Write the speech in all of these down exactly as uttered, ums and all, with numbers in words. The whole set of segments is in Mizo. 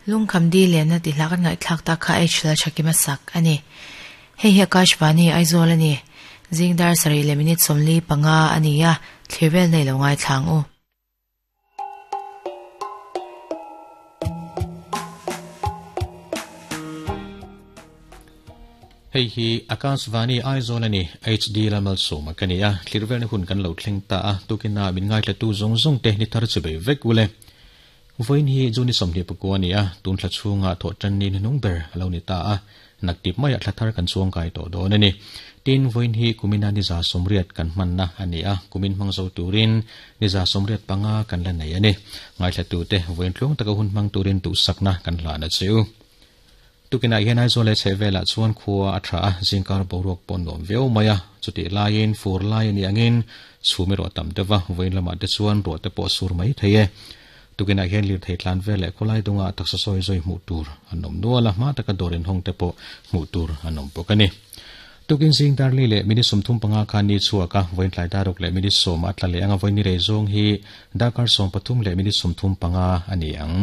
Lungkham di le na ti hlakan ngai thlak ta kha h la chakima sak ani. Hei hi Akashvani Aizawl ani. Zingdar sari le minute somli panga ania thlevel nei lo ngai thlang u. Hei hi Akashvani Aizawl ani H D lamal soma kania thlirvel hun kan lo thleng ta a tukina min ngai tla tu zong zong te ni thar chebe vek ule. Voin hi juni somni pakua a tun thla chunga tho tan ni nung ber lo ni ta a naktip mai thla thar kan chuang kai to don ani. Tin voin hi kumina ni za somriat kan manna ani a kumin mangzo turin ni za somriat panga kan la nei ani. Ngai thla tu te voin tlung taka hun mang turin tu sakna kan la na cheu. Tukina hian Aizawl le chhevela chuan khua a tha a zingkar boruak pawn nuam viau mai a chuti laiin fur lai ani angin chhumi ro tam tewa voin lama te chuan ro te pawh sur mai thei e. Tukina hian lir thei tlan vel leh khawlai dunga taksa sawi zawi hmuh tur an awm nual a hma taka dawrin hawng te pawh hmuh tur an awm bawk ani. Tukin zing darli leh minute sawmthum panga khan ni chhuak a voin tlai daruk leh minute sawm a tla leh anga voin ni rei zawng hi darkar sawm pathum leh minute sawmthum panga ani ang.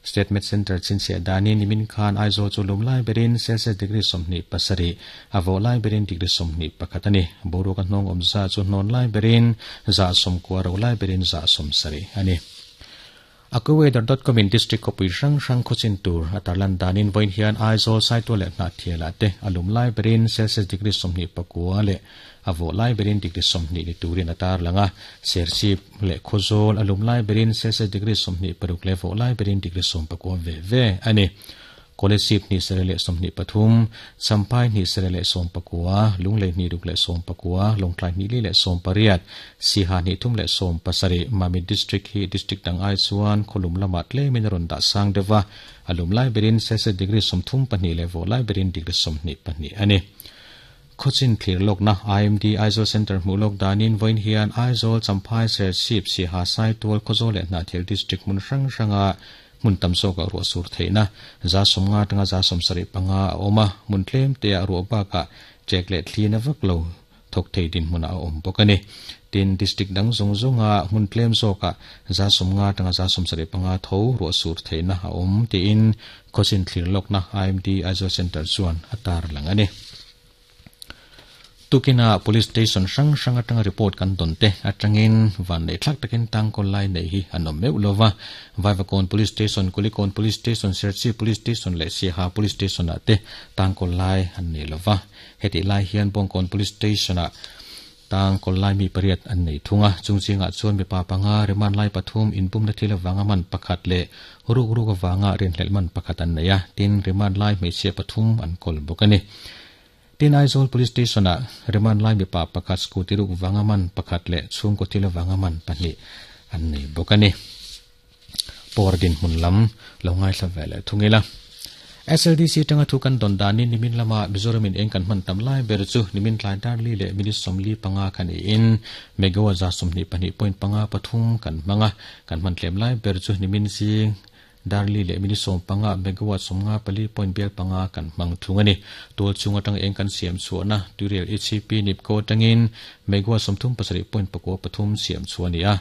State Med Center chinchia dani nimin khan Aizawl chu lum lai berin Celsius degree somni pasari avo lai berin degree somni pakhatani boruak hnong omza chu hnon lai berin za som kwa ro lai berin za som sari ani. Akuweather dot com in district kopui rang rang khochin tur atarlan danin voin hian Aizawl saito le na thiala te alum lai berin Celsius degree somni pakua le avo lai berin degree somni ni turin atar langa serchip le khozol alum lai berin Celsius degree somni paruk le vo lai berin degree som pakua ve ve ani. College ni serele somni pathum champai ni serele som pakua lunglei ni ruk le som pakua longtlai ni li le som pariat siha ni thum le som pasari Mami district hi district dang ai chuan kholum lama tle min ron da sang dewa alum lai berin Celsius degree som thum pahnih le vo lai berin degree som ni pahnih ani. Khochin thlir lokna I M D Aizawl Center hmuh lok danin voin hian Aizawl Champhai Serchhip Siha Saitual Khawzawl leh Hnahthial district hmun hrang hranga mun tam zawk a ruah sur theihna za sawmnga atanga za sawmsarih panga a awm a mun tlem te a ruah bakah ṭek leh thlin a vak lo thawk thei din hmunah a awm bawk ani. Tin district dang zawng zawnga hmun tlem zawkah za sawmnga atanga za sawmsarih panga tho ruah sur theihna a awm tiin khawchin thlir lokna I M D Aizawl Center chuan a tar lang ani. Tukina police station hrang hrang atanga report kan don te atangin van nei thlak takin tangkawl lai nei hi an awm meuh lova. Vaivakawn police station, Kulikawn police station, Serchhip police station leh Siaha police station ah te tangkawl lai an nei lova. Heti lai hian Bawngkawn police station ah tangkawl lai mi pariat an nei thunga chungchingah chuan mipa panga remand lai pathum inpumna thil awanga man pakhat leh ruk ruk awanga rinhlelh man pakhat an nei a tin remand lai hmeichhia pathum an kawl bawk ani. Tin Aizawl police station a remand lai mipa pakhat scooty ruk wanga man pakhat leh chhungkaw thil awanga man pahnih an nei bawk ani. Por din hmun lam lo ngai thla ve leh thungila. S L D C tanga thu kan don danin nimin lama Mizoramin eng kan hman tam lai ber chu nimin tlai dar li leh minute sawmli panga khan in megawatt za sawmhnih pahnih point panga pathum kan hmanga kan hman tlem lai ber chu nimin zing darli le minute som panga megawatt somnga pali point bel panga kan mang thung ani. Tol chunga tang eng kan siam chuana tuirial H C P nipko tangin megawatt somthum pasarih point pakua pathum siam chuani a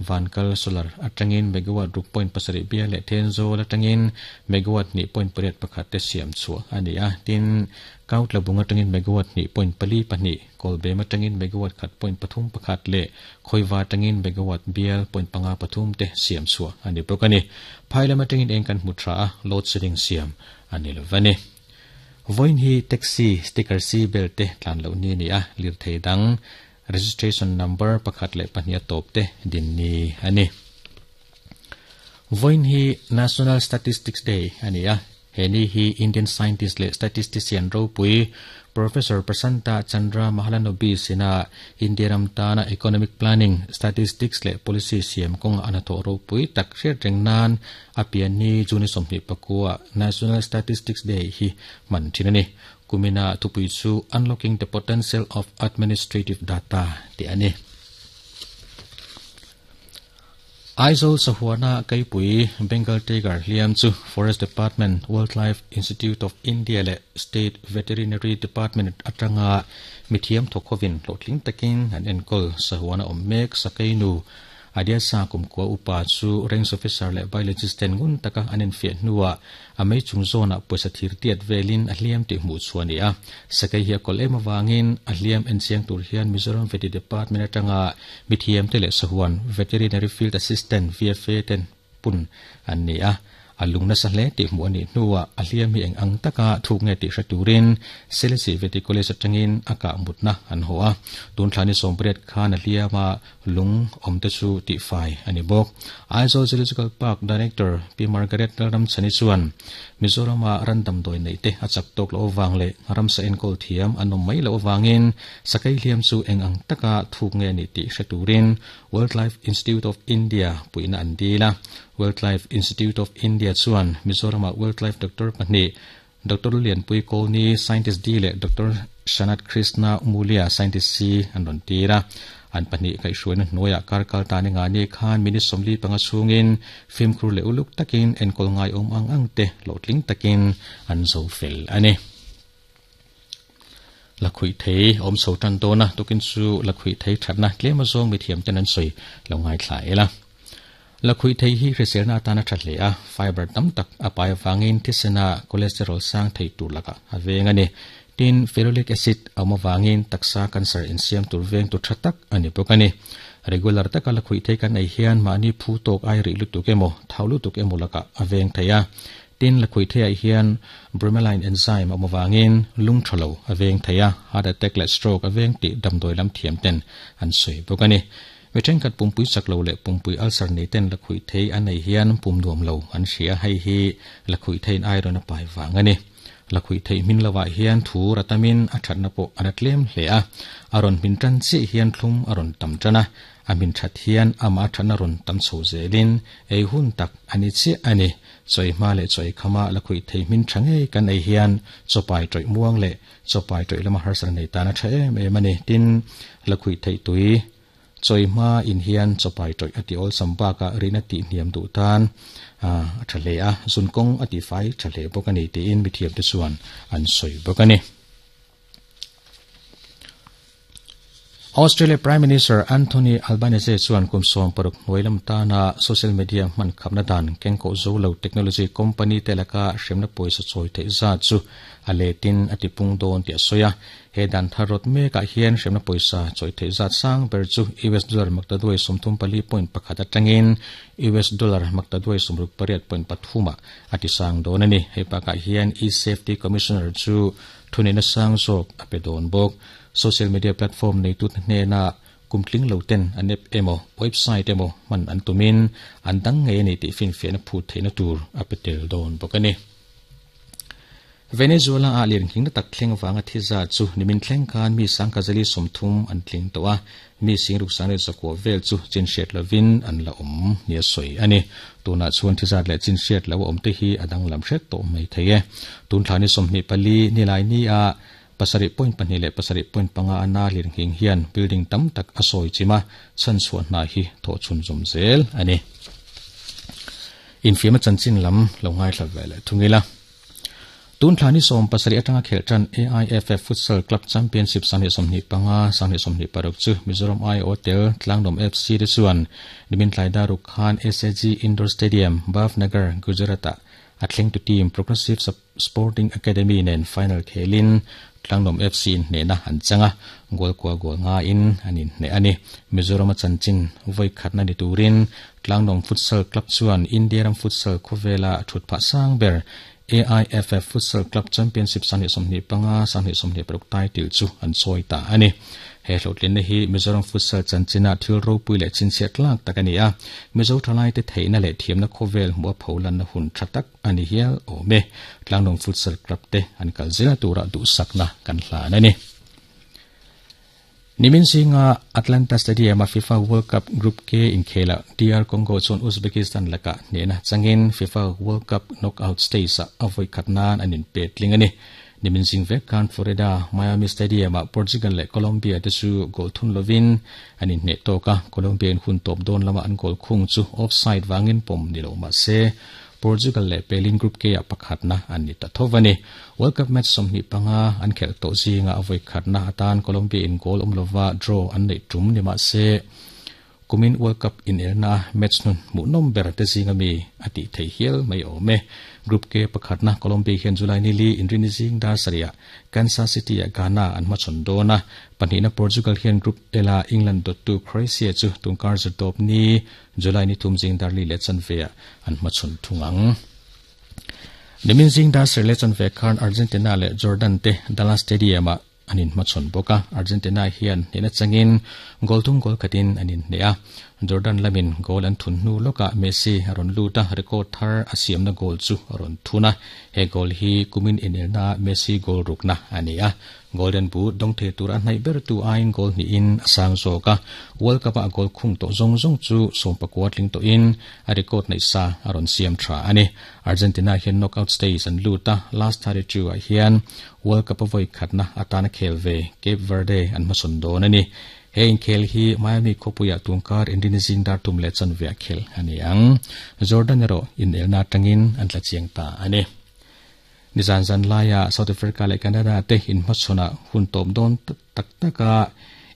vankal solar atangin megawatt ruk point pasarih bia le thenzawl atangin megawatt ni point pariat pakhat te siam chua ani a. Tin kaut labunga tangin megawatt ni point pali pahnih kolbem atangin megawatt khat point pathum pakhat le khoiwa tangin megawatt bial point panga pathum te siam chua ani bawk ani. Phailam atangin eng kan hmu tha a load shedding siam ani lovani. Voin hi taxi sticker c belt te tlan lo ni ni a lir thei dang registration number pakhat le pahnih top te din ni ani. Voin hi National Statistics Day ani a heni hi Indian scientist le statistician ropui Professor Prasanta Chandra Mahalanobis ina India ram tana economic planning statistics le policy siam kong anatho ropui tak hriat reng nan apian ni juni sawmhnih pakua National Statistics Day hi man thin ani. Kumina thupui chu unlocking the potential of administrative data ti ani. Aizawl sahuana kaipui Bengal Tiger hliam chu Forest Department, Wildlife Institute of India le State Veterinary Department atanga mithiam thokhovin hlawhtling takin an enkawl sahuana awm mek sakainu Adia sa kum kwa upa chu range officer le biologist ten ngun taka anin fi nuwa amei chung zona poisa thir tiat velin a hliam ti hmu chuani a sakai hi kol ema wangin a hliam en chiang tur hian Mizoram Vet Department atanga mithiam te le sahuan Veterinary Field Assistant V F A ten pun an ni a alung na sa hle ti hmu ani nuwa a hliam hi eng ang taka thuk nge ti hraturin Selesih Vet College atangin aka mutna an ho a tun thlani sompriat khan a hliama lung omte chu ti fai ani bok. Aizawl Zoological Park Director P Margaret Lalram Chani chuan Mizorama randam doi nei te achak tok lo wang le ramsa enkol thiam anom mai lo wangin sakai hliam chu eng ang taka thuk nge ni ti hraturin Wildlife Institute of India puina an dila. Wildlife Institute of India chuan Mizorama Wildlife Doctor pahnih Doctor Lian Pui Kolni Scientist D le Doctor Shanat Krishna Mulia Scientist C an ron tira an pahnih kai hruaina hnuaiah karkal ta ni nga ni khan minute sawmli panga chungin fimkhur leh uluk takin enkawl ngai awm ang ang te hlawhtling takin an zo fel ani. Lakhui thei awm chho tan dawna tukin chu lakhui thei thatna tlem azawng mithiam ten an sawi lo ngai thla ela. Lakhui thei hi hriselna atana tha hle a fiber tam tak a pai wangin thisena cholesterol sang thei tur laka a veng ani. Tin ferulic acid awm awangin taksa cancer insiam tur veng tur tha tak ani bawk ani. Regular taka lakhui thei kan ei hian mahni phu tawk ai ri lutuk emaw thau lutuk emaw laka a veng thei a. Tin lakhui thei ah hian bromelain enzyme awm awangin lung thalo a veng thei a heart attack leh stroke a veng tih damdawi lam thiam ten an sawi bawk ani. Mi thenkhat pumpui chak lo leh pumpui ulcer nei ten lakhui thei an nei hian pum nuam lo an hria hei hi lakhui theiin iron a pai wang ani. Lakhui thei hmin lawah hian thu ratamin a thatna pawh an a tlem hle a aron hmin tan chi hian thlum aron tam tana a min that hian ama thatna ron tam chho zelin ei hun tak ani chi ani. Choi hma le choi khama lakhui thei hmin thange kan ei hian chopai toi muang le chopai toi lama harsar nei tana tha em em ani. Tin lakhui thei tui choi ma in hian chopai toi ati ol samba ka rina ti hniam du tan a thale a zun kong ati fai thale bokani ti in mithiam te chuan an soi bokani. Australia Prime Minister Anthony Albanese chuan kum som paruk hnuailam tana social media hman khapna dan kengko zolo technology company telaka hremna pawisa chawi theih za chu a letin ati pung dawn ti a sawi a. He dan tharot mekah hian hremna pawisa chawi theih zat sang ber chu U S dollar maktaduai sawmthum pali point pakhat atangin U S dollar maktaduai sawmruk pariat point pathuma ati sang dawn ani. Hei pakah hian e-safety commissioner chu thunena sang zawk a pe dawn bawk. Social media platform nei tut hnena kumtling lo ten an app emo website emo man an tumin an dang nge ni ti fin fian phu theina tur a petel dawn bawk ani. Venezuela a lian king na tak thleng wanga thiza chu nimin thleng khan mi sangkazali somthum an tling to a mi singruk sang le zakwa vel chu chin hriat lovin an la awm nia sawi ani. Tuna chuan thizat leh chin hriat lo awm te hi adang lam hret tawh mai thei e. Tun thlani sawmhnih pali nilai ni a pasarih point pahnih leh pasarih point panga ana lir nghing hian building tam tak a sawi chima chan chhuah hna hi thaw chhun zawm zel ani. Infiam a chanchin lam lo ngai thla ve leh thungila. Tun thlani som pasarih atanga khel tan A I F F Futsal Club Championship sangni sawmhnih panga sangni sawmhnih paruk chu Mizoram I Hotel Tlangdawm F C te chuan nimin tlai daruk khan S A G Indoor Stadium Bhavnagar Gujarat a thleng tu team Progressive Sporting Academy nen final khelin Tlangdawm F C in hnehna an changa goal kwa goal nga in anin hne ani. Mizoram a chanchin voi khatna ni turin Tlangdawm Futsal Club chuan India ram futsal khawvela thut phah sang ber A I F F Futsal Club Championship sangni sawmhnih panga sangni sawmhnih paruk title chu an sawi ta ani. He hlawhtlin na hi Mizoram Futsal chanchina thil ropui leh chinchhiat tlak tak ani a. Mizo thalai te theihna leh thiamna khawvel hmuh a pholan na hun tha tak ani hial awm e. Tlangdawm Futsal Club te an kal zela tura duhsakna kan hlan ani. Nimin singa Atlanta Stadium a FIFA World Cup Group K inkhela D R Congo chuan Uzbekistan laka hnehna changin FIFA World Cup knockout stage a avoi khatnan anin petling ani. Nimin sing vek khan Florida Miami Stadium a Portugal leh Colombia te chu goal thun lovin anin hne tawka Colombian hun tawp dawn lama an goal khung chu offside wangin pawm ni lo ma se Portugal leh Pelin Group K a pakhatna an ni ta thovani. World Cup match sawmhnih panga an khel tawh zinga avoi khatna atan Colombia in goal awm lova draw an nei tum ni ma se Kumin World Cup in elna match nun mu nom ber te zinga mi ati thei hial mai ome Group K pakhat na Colombia hian July ni li inrini zing dar saria Kansas City a Ghana an hmachhawn dawn a pahnihna Portugal hian Group L a England dot tu Croatia chu tungkar zatawp ni July ni thum zing dar li leh chanve ah an hmachhawn thung ang. Nimin zing dar sarih leh chanve khan Argentina leh Jordan te Dallas Stadium ah an inhmachhawn bawk a Argentina hian hnehna changin goal thum goal khatin an inhneh a Jordan lamin goal an thun hnu lawkah Messi a rawn lut a record thar a siamna goal chu a rawn thun a he goal hi kumin inelna Messi goal rukna a ni a Golden Boot dawng thei tur a hnaih ber tu aiin goal hnihin a sang zawk a World Cup ah goal khung tawh zawng zawng chu sawm pakua tling tawhin a record neih sa a rawn siam tha a ni Argentina hian knockout stage an lut a last thirty two ah hian World Cup a vawi khatna atana khel ve Cape Verde an hmasawn dawn a ni he inkhel hi Miami khawpuiah tungkar inrini zing dar tum leh chanve a khel a ni ang Jordan erawh inelna atangin an tla chiang ta a ni Nizan zan laia South Africa leh Canada te inhmachhawn ah hun tawp dawn tak tak a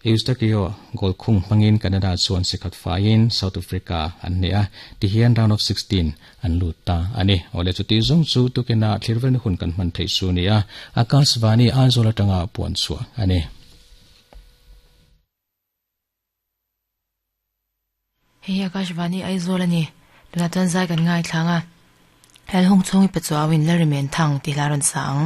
Eustakio goal khung hmangin Canada chuan sikhat faiin South Africa an hneh a tihian round of sixteen an lut ta a ni awle chuti zawng chu tukina thlirvelna hun kan hman theih chu ni a Akashvani Aizawl atanga puan chhuah a ni. Hei hi Akashvani Aizawl a ni tunah chuan zai kan ngaithlang a Hel hung chhungi pe chuauin Larimen Thang tih hla rawn sa ang.